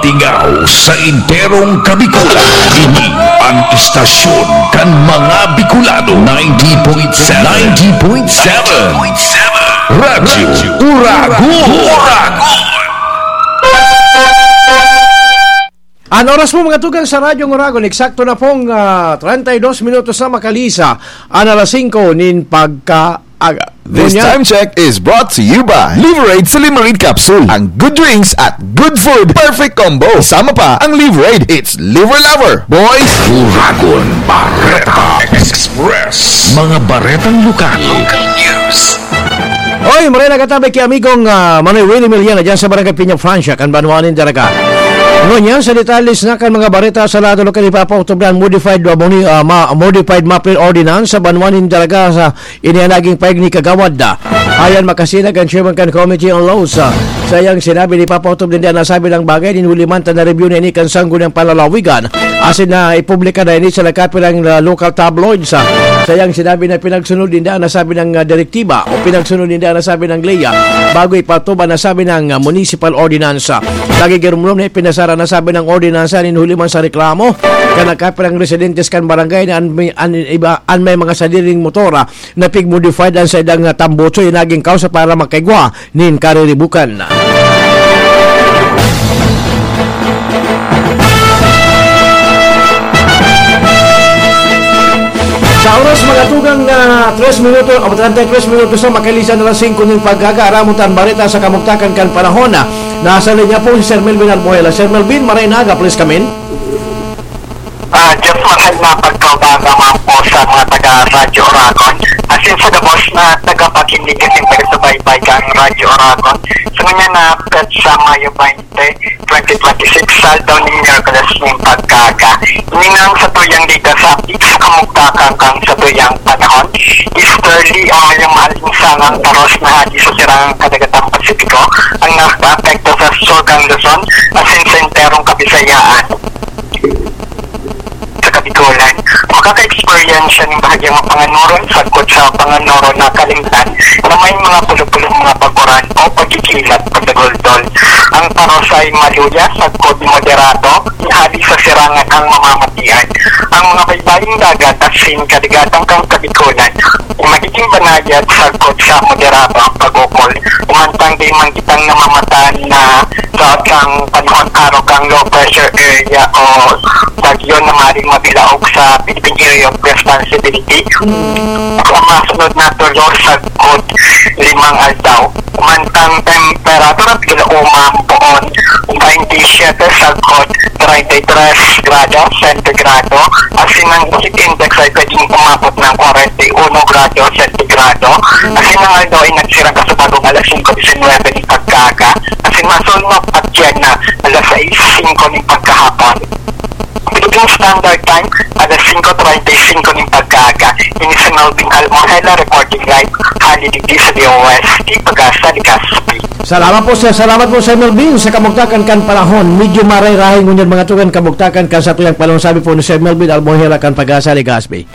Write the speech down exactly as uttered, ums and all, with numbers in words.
Tingaw sa enterong Kabikolan. Ini ang istasyon kan mga Bicolano. Ninety point seven. Ninety point seven. Radyo Uragon. Uragon. An oras po, mga tugang, sa Radyo Uragon, eksakto na pong, ah, treinta y dos minutos na makalihis an alas singko nin pagkaaga. This Ngunyan, time check is brought to you by Liverade Silimarin Capsule. Ang good drinks at good food, perfect combo. Kasama pa ang Liverade, it's Liver Lover. Boys, Uragon Bareta Express. Mga baretang lokal. Local news. Oy, maray na katabi ki amigong, ah, Manoy Willie Miliana dyan sa Barangay Piña, Francia, kan banwa nin Daraga. Ngunyan, sa detalles na kan mga bareta sa lado lokal, ipapautubdan modified, ah, moni-, ah, ma-, modified mapping ordinance sa banwa nin Daraga sa ini an naging pahayag ni Kagawad, ah, Ayan Makasinag, ang chairman kan Committee on Laws. Ah, sa iyang sinabi, ipapautubdan an nasabing bagay nin huli man ta na-review na ini kan Sangguniang Panlalawigan. Asin na ipublika na ini sa nagkapirang, ah, local tabloids. Ah, sa iyang sinabi na pinagsunod ninda ang nasabing, ah, direktiba o pinagsunod ninda ang nasabing ley, ah, bago ipatubad an nasabing, ah, municipal ordinance. Ah, nagigirumrom na ipinasara an nasabing ordinance nin huli man sa reklamo kan nagkapirang residentes kan barangay na an may, an iba, an may mga sadiring motor, ah, na pig-modified an saindang, ah, tambutso, yan naging kausa para makaigwa nin kariribukan. Sa oras, mga tugang, na tres minuto, o treinta y tres minutos na, makalihis an alas singko nin pagkaaga, aramon ta an bareta sa kamugtakan kan panahon. Nasa linya po si Sir Melvin Albuela. Sir Melvin, maray na aga, please come in. Ah, Jeff, maray na pagkaaga man po sa mga taga Radyo Uragon. Asin sa gabos na tagapakinig asin taga-subaybay kan Radyo Uragon. Sa ngunyan na petsa Mayo twenty, twenty twenty-six, sa aldaw nin Miyerkules nin pagkaaga. Ini an satuyang data sa update sa kamugtakan kan satuyang panahon. Easterly o yung maalinsangang paros na hadi sa Sirangan Kadagatang Pasipiko ang nakaapekto sa Sur kan Luzon asin sa enterong Kabisayaan. Sa Kabikolan, makaka-experience nin bahagyang mapanganuron sagkod sa panganuron na kalimtan na may mga pulo-pulong mga paguran o pagkikilat pagdagoldol. Ang paros ay maluya sagkod moderato, hadi sa Sirangan ang mamamatian. Ang mga baybayong dagat asin kadagatan kan Kabikolan magiging banayad sagkod sa moderado ang pag-ukol. Umantang di man kitang namamatan na sa atang panahon arog ang low pressure area o bagyo na maring mabilaog sa Philippine Area of Responsibility sa masunod na tulo sagkod limang aldaw. Umantang temperatura, piglauma poon, twenty-seven sagkod treinta y tres grado sentigrado, asin ang heat index ay pwedeng umabot ng kwarenta y uno grado sentigrado, asin ang aldaw ay nagsirang kasabagong alas singko disinwebe nin pagkaaga, asin masunod at yan na alas sais singko nin pagkahapon. Philippine Standard Time, alas singko treinta y cinco nin pagkaaga. Ini si Melvin Almohela, recording live, hali digdi sa D O S T, Pagasa, Legazpi. Salamat po, sir. Salamat po, Sir Melvin, sa kamugtakan kan panahon. Medyo maray-rahay ngunyan, mga tugang, kamugtakan kan satuyang panahon, sabi po ni Sir Melvin Almohela kan Pagasa, Legazpi.